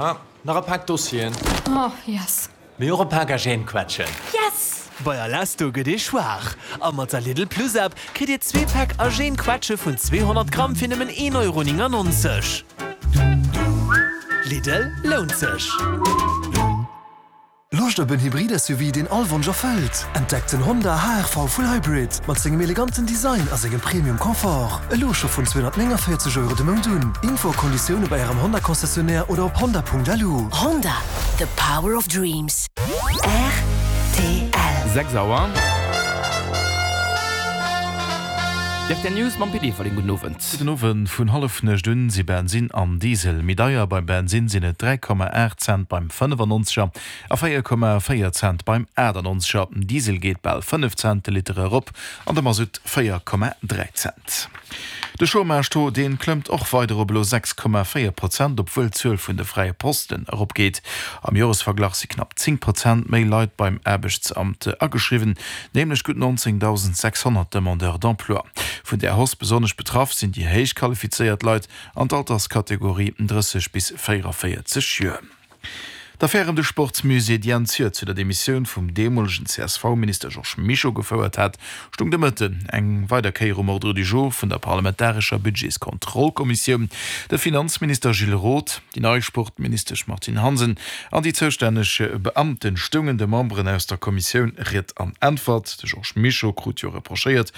Ah, nach e Pak Dossieren. Oh, yes. Mee och e Pak Agènequetschen. Yes! Bei Alesto gëtt ee schwaach a mat der Lidl Plus App kritt dir zwee Päck Agènequetsche vun 200 Gramm fir nëmmen 1,99 Euro. Lidl, lount sech! Loscht op en Hybrid-SUV, deen all Wonsch erfëllt? Entdeckt den Honda HR-V Full Hybrid mat sengem eleganten Design a sengem Premium Confort. Elo scho vun 249 Euro de Mount un. Info a Konditioune bei Ärem Honda-Concessionnaire oder op honda.lu. Honda, the power of dreams. Rtl. 6 Auer. D'RTL News mam Pit Everling. Gudden Owend. Gudden Owend. Vun Hallefnuecht un si Bensin an Diesel méi deier. Beim Bensin sinn et 3,8 Cent beim 95er a 4,4 Cent beim 98er. Den Diesel geet bal 5 Cent de Liter erop an de Masutt 4,3 Cent. De Chômage-Taux, dee klëmmt och weider op elo 6,4 Prozent, obwuel d'Zuel vun de fräie Posten eropgeet. Am Joresverglach si knapp 10 Prozent méi Leit beim Aarbechtsamt ageschriwwen, nämlech gutt 19.600 Demandeurs d'emploi. Vun där Hausse besonnesch betraff sinn déi héich qualifizéiert Leit an d'Alterskategorie 30 bis 44 Joer. D'Affär ëm de Sportsmusée, déi Enn d'Joer zu der Demissioun vum deemolegen CSV-Minister Georges Mischo gefouert hat, stung de Mëtten eng weider Kéier um Ordre du jour vun der parlamentarescher Budgetskontrollkommissioun. De Finanzminister Gilles Roth, déi nei Sportministesch Martine Hansen an déi zoustänneg Beamten stoungen de Memberen aus der Kommissioun Ried an Äntwert. De Georges Mischo krut jo reprochéiert,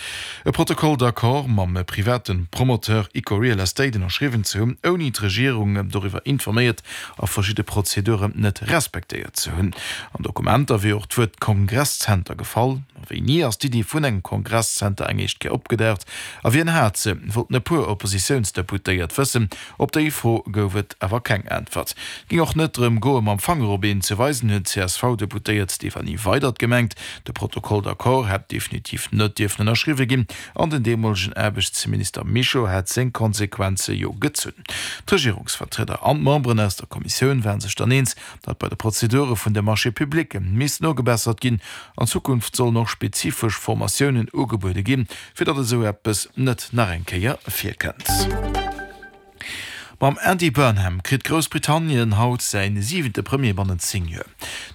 e Protocole d'accord mam private Promoteur Ico Real Estate ënnerschriwwen ze hunn, ouni d'Regierung doriwwer informéiert a verschidde Prozeduren net respektéiert ze hunn. An Dokumenter wier och d'Wuert Kongresszenter gefall. A wéini ass d'Iddi vun engem Kongresszenter eng éischt Kéier opgedaucht a wien hat se, wollten e puer Oppositiounsdeputéiert wëssen. Op déi Fro gouf et awer keng Äntwert. Et géing och net drëm goe mam Fanger op een ze weisen, huet d'CSV-Deputéiert Stéphanie Weydert gemengt. De Protocole d'accord hätt definitiv net dierfen ënnerschriwwe ginn an den deemolegen Aarbechtsminister Mischo hätt seng Konsequenze jo gezunn. D'Regierungsvertrieder an d'Memberen aus der Kommissioun waren sech dann eens, datt bei de Prozedure vun de Marchés publics misst nogebessert ginn. An Zukunft sollen och spezifesch Formatiounen ugebuede ginn, fir datt esou eppes net nach eng Kéier virkënnt. Mam Andy Burnham kritt Groussbritannien haut säi siwente Premier bannent 10 Joer.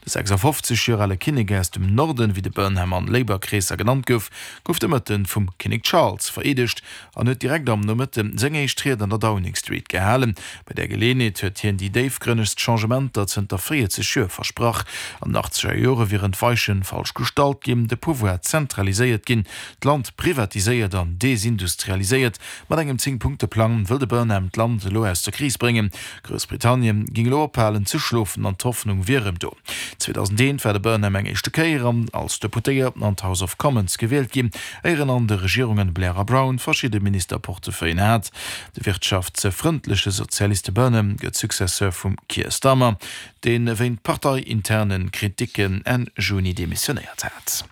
De 56 Joer ale Kinnek aus dem Norden, wéi de Burnham an Labour-Kreesser genannt gouf, gouf de Mëtten vum Kinnek Charles vereedegt an huet direkt am Nomëtte seng éischt Ried an der Downing Street gehalen. Bei där Geleeënheet huet hien déi déifgrënnegst Changementer zënter 40 Joer versprach. An den achtzeger Jore wieren d'Weiche falsch gestallt ginn, de Pouvoir zentraliséiert ginn, d'Land privatiséiert an desindustrialiséiert. Mat engem Zéng-Punkte-Plang wëll de Burnham d'Land elo aus der Kris bréngen. Groussbritannien géing elo ophalen ze schlofen an d'Hoffnung wier erëm do. 2001 war de Burnham eng éischte Kéier an als Deputéierten an d'House of Commons gewielt ginn, éier en an de Regierungen Blair a Brown verschidde Ministerportefeuillen hat. De wirtschaftsfrëndleche Sozialiste Burnham gëtt Successeur vum Keir Starmer, dee wéint parteiinterne Kriticken Enn Juni demissionéiert hat.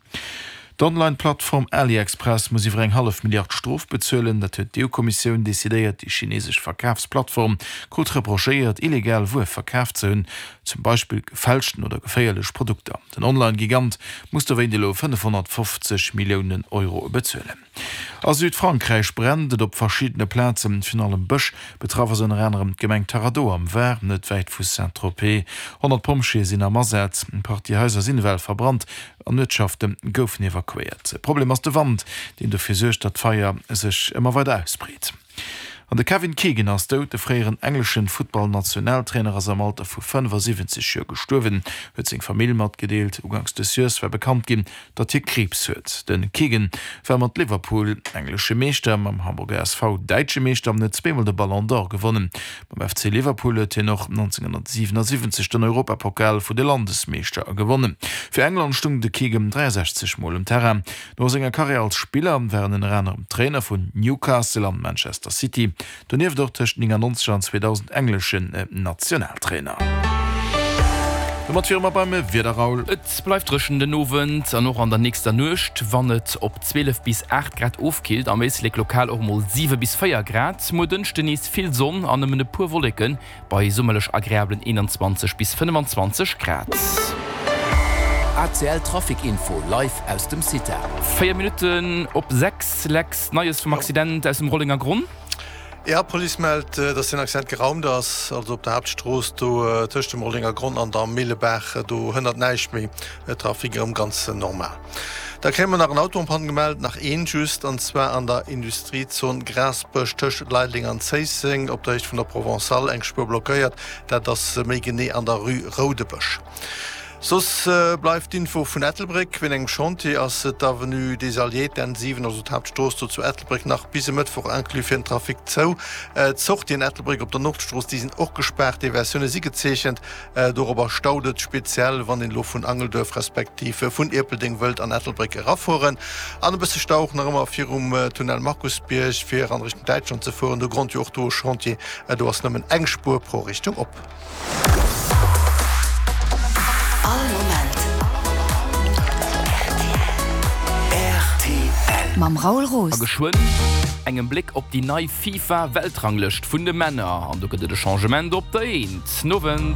D'Online-Plattform AliExpress muss iwwer eng hallef Milliard Strof bezuelen. Dat huet d'EU-Kommissioun decidéiert. Déi chinesesch Verkafsplattform krut reprochéiert, illegal Wuer verkaf ze hunn, zum Beispill gefälschten oder geféierlech Produkter. Den Online-Gigant muss dowéint elo 550 Milliounen Euro bezuelen. A Südfrankräich brennt et op verschiddene Plazen, virun allem Bësch. Betraff ass ënner anerem d'Gemeng Taradeau am Var, net wäit vu Saint-Tropez. 100 Pompjeeë sinn am Asaz. Eng Partie Haiser sinn ewell verbrannt an Uertschafte goufen evakuéiert. Problem ass de Wand, deen dofir suergt, datt d'Feier sech ëmmer weider ausbreet. An de Kevin Keegan ass dout. De fréieren engleschen Futtball-Nationaltrainer ass am Alter vu 75 Joer gestuerwen, huet seng Famill matgedeelt. Uganks des Joers war bekannt ginn, datt hie Kriibs huet. De Keegan war mat Liverpool englesche Meeschter, mam Hamburger SV däitsche Meeschter an huet zweemol de Ballon d'Or gewonnen. Mam FC Liverpool huet hien och 1977 den Europapokal vu de Landesmeeschter gewonnen. Fir England stung de Keegan 63 Mol um Terrain. No senger Karriär als Spiller war en ënner anerem Trainer vun Newcastle an Manchester City, donieft och tëscht 99 an 2000 engleschen Nationaltrainer. Domat wiere mer beim Wieder, Raoul. Et bleift dréchen den Owend an och an der nächster Nuecht, wann et op 12 bis 8 Grad ofkillt, am Éislek lokal och mol 7 bis 4 Grad. Muer Dënschde nees vill Sonn an nëmmen e puer Wolleken, Bei summerlech agreablen 21 bis 25 Grad. ACL Trafic Info live aus dem CITA. 4 Minutten op 6, Lex, Neies vum Accident aus dem Rollengergronn? Jo, d'Police mellt, dass den Accident geraumt ass, also op der Haaptstrooss do tëscht dem Rollenger Gronn an der Millebaach. Do hënnert näischt méi, Trafic erëm ganz normal. Da kréie mer nach en Auto en panne gemellt, nach een just, an zwar an der Industriezon Grasbësch tëscht Leideleng an Zéisseng op der Héicht vun der Provençale, eng Spuer blockéiert, dat ass méi genee an der Rue Roudebësch. Soss bleift d'Info vun Ettelbréck, Wéint engem Chantier ass d'Avenue des Alliés, d'N 7, also d'Haaptstrooss do zu Ettelbréck, nach bis e Mëttwoch inclus fir den Trafic zou. D'Sortien Ettelbréck op der Nordstrooss, déi sinn och gespaart, Deviatioune si gezeechent. Dorobber staut et speziell, wann een elo vun Angelduerf respektiv vun Ierpeldeng wëllt an Ettelbréck erafueren. An e bësse Stau och nach ëmmer virum Tunnel Markusbierg, fir an Richtung Däitschland ze fueren. Do grond jo och do e Chantier, do ass nëmmen eng Spuer pro Richtung op. All Moment rtl. Mam Raoul Roos. A geschwënn engem Bléck op déi nei FIFA-Weltranglëscht vun de Männer. An do gëtt et e Changement op der Eent. Nowend.